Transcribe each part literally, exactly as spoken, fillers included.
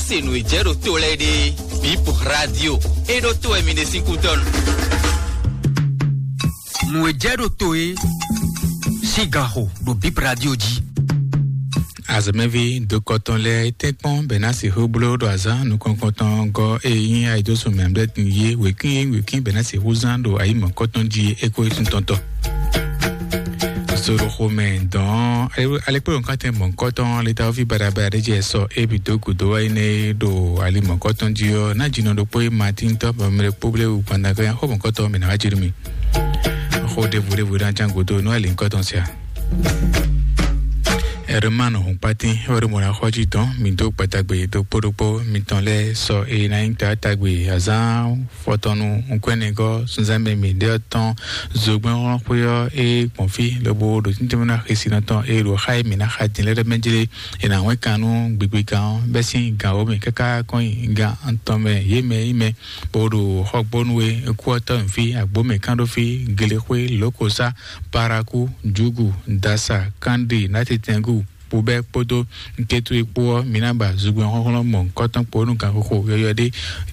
Se nǔ e jɛ ɖo to lɛ́ɛ ɖe, Bip Radio e ɖo to wɛ mi ɖe sín kútɔ́nu. Nǔ e jɛ ɖo to e sín ganxo ɖo Bip Radio jí. Azɔ̌mɛví dokɔtɔn lɛ́ɛ tɛ́nkpɔ́n bɛ ná sixú bló ɖo azǎn nukɔntɔn gɔ́ e nyí ayidosùn mɛ̌mɛ́tin yé wěkwín e nyí wěkwín bɛ ná sixú zán ɖo ayǐ mɔ̌kɔtɔn jí é kó é tún tɔntɔ. Soroxomɛ dɔn alekpolo nukatɛn mɔ̌kɔtɔn letawovi badabada ɖé jɛ sɔ ébi dó gǔdo wá yi nɛ ɖo ali mɔ̌kɔtɔn jí ɔ́, ná jinɔ ɖokpó e Matín tɔ́ bɔ mɛ ɖokpó blé wu gbandagán xó mɔ̌kɔtɔn mɛ ná wá jɛ nú mi. Xó ɖěvo ɖěvo ɖé ná ján gǔdo nú ali nukɔtɔn sia. Ɛrman Hɔnkpatín wɛ ɖo mɔ̌ ná xɔ jí dɔn mi dó gbadagbe ɖokpó ɖokpó mitɔn lɛ́ɛ sɔ e ná nyí ta tagbe azán fɔtɔnu nukɔnɛgɔ́ sunzánmɛ mǐɖé ɔ́ tɔn zogbɛ́nxɔlɔ́xwé ɔ́ e gbɔn fí lobo ɖo tíntímɛ ná xesinɔ tɔn e ɖo xá e mǐ ná xa din lɛ́ɛ ɖɔ mɛ jlé e nǎ wɛn kan nú gbigbigan ɔ́ bɛ́ sín gan wǒ mɛ káká kɔn nyi gan atɔn mɛ yě mɛ yi mɛ bó ɖo xɔgbónu e kú ɔ́ tɔ́ nyi fí agbǒ mɛ kán ɖó fí glexwé lǒkosá parakú jugu dasa kánɖe nátitɛngú bubɛ kpódó nkétú e kpó ɔ́, mi ná ba zugbɛn xɔ́xlɔ́ mɔ̌hunkɔtɔn kpó nú ganxixo yɔyɔ ɖé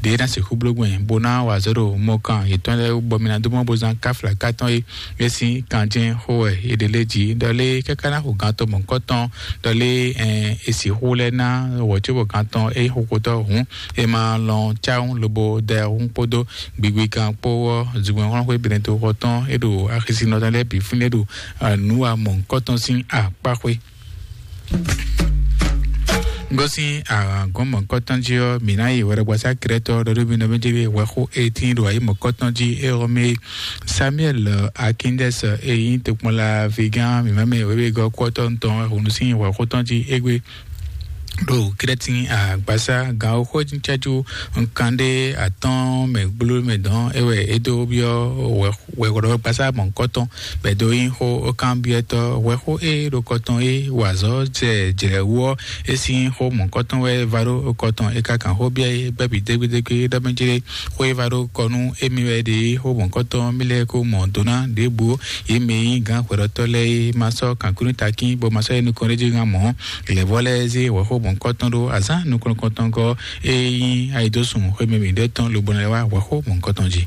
ɖě ná sixú bló gbɛn bó ná wa azɔ̌ ɖo mɔkan yětɔn lɛ́ɛ wú, bɔ mi ná dó mɔ bó zán káfla kátɔn e é sín kanjɛ́n xó wɛ è ɖe lé jí. Ɖɔ lé káká ná xo gantɔ mɔ̌hunkɔtɔn, ɖɔ lé ɛn è sixú lɛ́ ná wɔ̌ cóbɔ gantɔn é xo xotɔ́ hǔn è ma lɔn cáwún lobo da hun kpódó gbigbigan kpó ɔ́, zugbɛn xɔ́xlɔ́ xwé Benɛto xɔ tɔn é ɖo axisinɔ tɔn lɛ́ɛ bǐ fínɛ́ ɖo nǔ wa mɔ̌hunkɔtɔn sín akpá xwé. Gosín agɔn mɔ̌kɔtɔn jí ɔ́, mǐ ná yi hwɛɖɔgbasá Krɛtɔ ɖɔɖóbínɔ méjèlé hwɛxó etí ɖo ayǐ mɔ̌kɔtɔn jí é ɔ́ mɛ Samuel Akindɛs e nyí tokpɔnla vigán mǐmá mɛ wěwegɔ́ kɔ́tɔn tɔn hǔn sín hwɛxó tɔn jí égbé ɖo Krɛ́tin agbasá ganxóxó cɛ́jú nkanɖé atɔ́ɔ́n mɛ gbló mɛ dɔn é wɛ é dó byɔ́ hwɛxó wɛhwɛ́ɖɔgbasá mɔ̌hunkɔtɔn bɔ è dó nyí xó kanbyɔ́tɔ́ hwɛxó e ɖo kɔ tɔn e wa azɔ̌ jɛ jlɛ̌ wú ɔ́, é sín xó mɔ̌hunkɔtɔn wɛ va ɖó kɔ tɔn. É ka kan xó byɔ́ é bɛ́ bǐ dégbédégbé ɖɔ mɛ jlé xó e va ɖó kɔ nú émí wɛ ɖe é xó mɔ̌hunkɔtɔn mì lɛ́ɛ ko mɔ do ná ɖěbǔ yě mɛ e nyí gǎn hwɛɖɔtɔ́ lɛ́ɛ é ma sɔ́ kankúnú takín bɔ ma sɔ́ yi nukɔn ɖé jí gán mɔ̌. Lɛ̌vɔ́ lɛ́ɛ zé hwɛxó mɔ̌hunkɔtɔn ɖó azǎn nukɔntɔn gɔ́ e nyí ayidósun xwé mɛ mǐɖɛtɔn lobo ná lɛ́ wá hwɛxó mɔ̌hunkɔtɔn jí.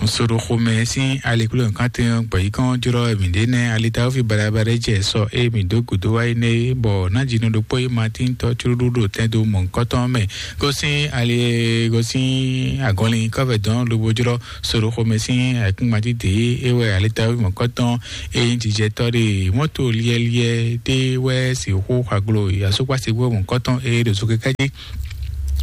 Soɖoxomɛ sín aliklúnɔkátɛn ɔ́ gbɛ̌yíkɔn jlɔ́ mǐ ɖe nɛ́ alitawúfi baɖabaɖa jɛ sɔ e mǐ dó gǔdo wá yi nɛ́ é, bɔ nǎjínɔ ɖokpó e Matín tɔ́ cúɖúɖú ɖo tɛn dó mɔ̌hunkɔtɔn mɛ gosín ali gosín agɔnlin kɔ́vɛ dɔn lobo jlɔ́ soɖoxomɛ sín ayǐkúngban dídě é wɛ alitawúfi mɔ̌hunkɔtɔn e nyí jijɛtɔ́ ɖe mɔ́to liɛ́liɛ́ ɖé wɛ sixú xwaglo asúkpásigbó mɔ̌hunkɔtɔn e ɖo zokɛkɛ́ jí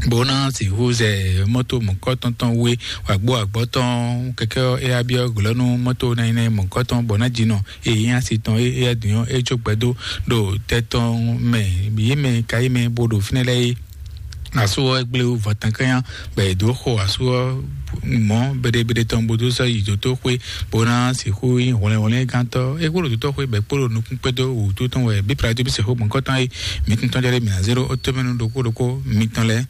bó ná sixú zɛ mɔ́to mɔ̌kɔtɔn tɔn wé wǎgbó agbɔ́ tɔn kɛkɛ́ ɔ́, é wá byɔ́ glɔ́ nú mɔ́to nɛnɛ mɔ̌kɔtɔn bɔ ná jǐnɔ e nyí asi tɔn é é wá dǐn ɔ́, é jó gbɛdó ɖo tɛ tɔn mɛ yě mɛ ka yí mɛ bó ɖo fínɛ́ lɛ́ɛ é. Asú ɔ́ gblé wú vɔ̌tɛnkɛ́nya bɔ è dǒ xo asú ɔ́ mɔ̌ beɖebeɖe tɔn bó dó sɔ́ yi dǒtóxwé bó ná sixú nyí hwlɛnhwlɛ́ngántɔ́. É kpódó dǒtóxwé bɔ é kpódó nukún kpédó wǔtu tɔn wɛ bíplá jí bí sixú mɔ̌kɔtɔn é. Mǐ tɔn jɔ ɖé mǐ ná zé ɖó ó tómɛnu ɖokpó ɖokpó mitɔn lɛ́ɛ.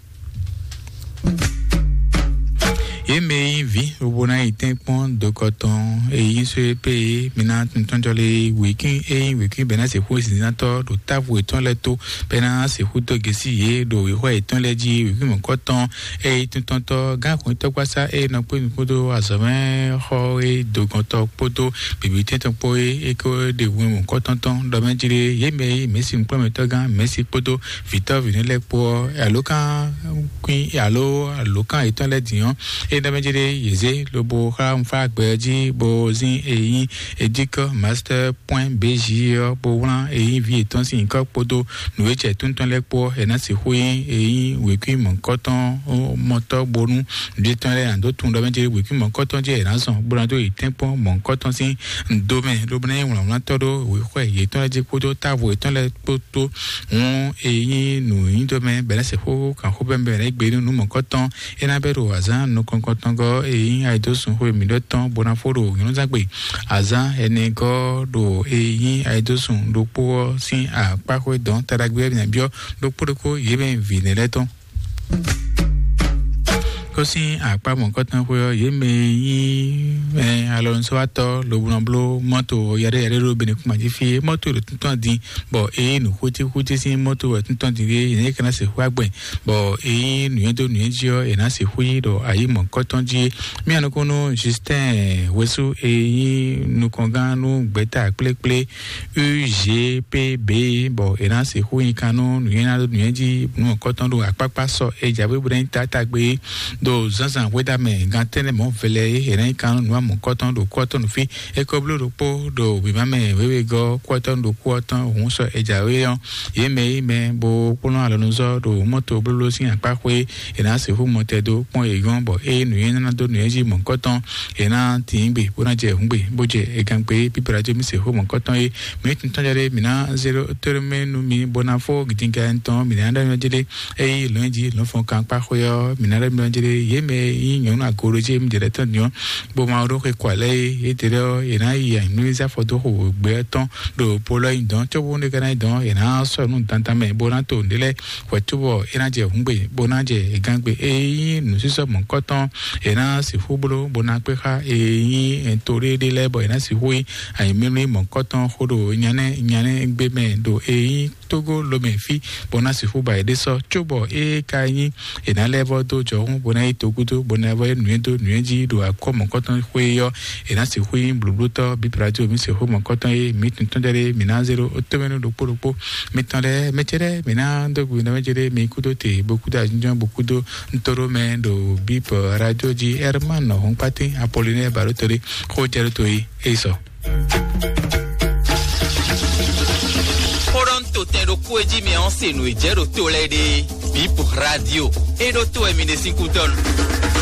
Yě mɛ e nyí vǐ lobo ná yi tɛ́nkpɔ́n dokɔ tɔn e nyí só é pé é, mi ná tuntɔ́njɔ lé wěkwín e nyí wěkwín bɛ́ ná sixú zǐnzínnátɔ́ ɖo távo yětɔn lɛ́ɛ tó, bɛ́ ná sixú dó gěsí yě ɖo wěxɔ yětɔn lɛ́ɛ jí. Wěkwín mɔ̌kɔtɔn e nyí tuntɔ́ntɔ́ gán xwǐntɔ́gbasá e nɔ kpé nu kpódó azɔ̌mɛxɔ e dogɔntɔ́ kpódó bǐbítɛ́ntɔ́ kpó é é ko ɖe hwenu mɔ̌kɔtɔn tɔn ɖɔ mɛ jí ɖé. Yě mɛ e nyí mɛ̌si nukplɔ́nmɛtɔ́gán mɛ̌si kpódó vǐtɔ́ vǐnú lɛ́ɛ kpó ɔ́, alǒkan kwín alo alǒkan yětɔn lɛ́ɛ din ɔ́, é ɖɔ mɛ jí ɖé yě zé lobo xlá nǔfágbɛ ɔ́ jí bó zín e nyí edíkɔ master point bg ɔ́ bó wlán e nyí vǐ yětɔn sín nyǐkɔ kpódó nǔ e jɛ tóntɔn lɛ́ɛ kpó ɔ́, è nǎ sixú nyí e nyí wěkwín mɔ̌kɔtɔn mɔtɔ́ bónú vǐ yětɔn lɛ́ɛ ná dó tunwun ɖɔ mɛ jí wěkwín mɔ̌kɔtɔn jí è nǎ zɔn bó ná dó yi tɛ́nkpɔ́n mɔ̌kɔtɔn sín do mɛ lobo ná nyí wlǎnwlátɔ́ ɖó wěxɔ yětɔn lɛ́ɛ jí kpódó távo yětɔn lɛ́ɛ kpó tó. Hǔn e nyí nǔnyiɖɔmɛ bɛ̌ ná se xó kan xó bɛ́ mɛ bɛ̌ ná gbe nú nǔ mɔ̌kɔtɔn é ná bɛ́ ɖo azǎn nukɔn kɔntɔngɔ́ e nyí ayidósun xwe mǐɖɔtɔn bó ná fó ɖo nyɔ̌nuzángbe azǎn ɛnɛ gɔ́ ɖo e nyí ayidósun ɖokpó ɔ́ sín akpáxwé dɔn taɖagbe ɔ́ bǐ ná byɔ́ ɖokpó ɖokpó yě mɛ vǐ nɛ́ lɛ́ɛ tɔn. Kpɔ́ sín akpá mɔ̌kɔtɔn xwé ɔ́, yě mɛ e nyí mɛ alɔnusɔ́watɔ́ lobo nɔ bló mɔ́to yaɖé yaɖé ɖo Benekuma jí fí é, mɔ́to ɖo tuntun dín, bɔ é nyí nǔ xútíxútí sín mɔ́to wɛ tuntun dín ɖé, yě nyí é ka ná sixú agbɛn, bɔ é nyí nǔnywɛ́ dó nǔnywɛ́ jí ɔ́, è nǎ sixú yí ɖɔ ayǐ mɔ̌kɔtɔn jí é. Mía nukúnnú Justin Wesú e nyí nukɔngán nú gbɛ̌ta kplékplé U G P B, bɔ è nǎ sixú nyi kan nú nǔnywɛ́ ná ɖó nǔnywɛ́ jí nú mɔ̌kɔtɔn ɖo akpákpá sɔ e jǎwe bó ná nyí tátágbe ɖo zǎnzǎn hwedamɛ gan tɛ́nnɛ mɔ̌ vɛlɛ é è nǎ nyí kan nú nǔ mɔ̌kɔtɔn ɖo kú ɔ́ tɔn nú fí. É ko bló ɖokpó ɖo wěma mɛ wěwegɔ́ kú ɔ́ tɔn ɖo kú ɔ́ tɔn hǔn sɔ e jǎwe ɔ́, yě mɛ yí mɛ bó kplɔ́n alɔnuzɔ́ ɖo mɔ́to blóbló sín akpá xwé, è nǎ sixú mɔtɛn dó kpɔ́n yě nyɔ́, bɔ ée nǔnywɛ́ ná dó nǔnywɛ́ jí mɔ̌kɔtɔn, è nǎ tín gbe bó ná jɛ hǔn gbe, bó jɛ egan gbe. Bíbélà jɛ mì sixú mɔ̌kɔtɔn é. Mǐ tuntun jɛ ɖé mǐ ná zéro tónú mɛ nú mi bó ná fó gidinga tɔn mǐ ná ɖɔ nyɔ́ jɛ ɖé. Eye lɔ̌n jí lɔ̌n fɔn kan kpá xwé ɔ́, mǐ ná ɖɔ mǐ jɛ ɖé. Yě mɛ yí nyɔ̌nu agolo jí mǐ jɛ ɖɛ́ tɔn nyɔ́, bó ma ɖó xwe kɔ alɛ é. Yě ɖě ɔ́, è nǎ yi anyǔnúzá fɔ dó xo gbɛ tɔn ɖo polɔ nyi dɔn, cóbó ne ka ná yi dɔn, è nǎ sɔ́ nú dandan mɛ bó ná to nǔɖé lɛ́ɛ hwɛ̌ cóbɔ é ná jɛ hǔngbe bó ná jɛ gangbe. Eye nyí nǔsísɔ mɔ̌kɔtɔn, è nǎ sixú bló bó ná kpé xá. Eye nyí to ɖéɖé lɛ́ɛ bɔ è nǎ sixú yí anyǐmlímlí mɔ̌kɔtɔn xó ɖo nyanɛ nyanɛ gbé mɛ ɖo eye nyí Togo lomɛ fí bó ná sixú ba yěɖée sɔ́, cóbɔ é ka nyí è nǎ lɛ́ vɔ́ dó jɔhún bó ná yi togúdó bó ná vɔ́ yí nǔnywɛ́ dó nǔnywɛ́ jí ɖo akɔ́ mɔ̌kɔtɔn xwé ɔ́, è nǎ sixú nyí blǒblótɔ́ bíbí radio mǐ sixú mɔ̌kɔtɔn e mǐ tun tɔn jɛ ɖe mǐ ná zé ɖo tómɛnú ɖokpó ɖokpó. Mitɔn lɛ́ɛ mɛ ce lɛ́ɛ mǐ ná dó gbe nɔ mɛ ce ɖe mǐ kúdó te bó kúdó ajínjɔ́n bó kúdó ntó ɖó mɛ ɖo bíbí radio jí Herman Hɔnkpátín Apollinaire Balotori xó jɛ ɖó to yi é sɔ. Xó ɖɔ un to tɛn ɖokpó e jí mi ɔ́ se nǔ e jɛ ɖo to lɛ́ɛ ɖe. Bip radio e ɖo to wɛ mi ɖe sín kútɔ́nu.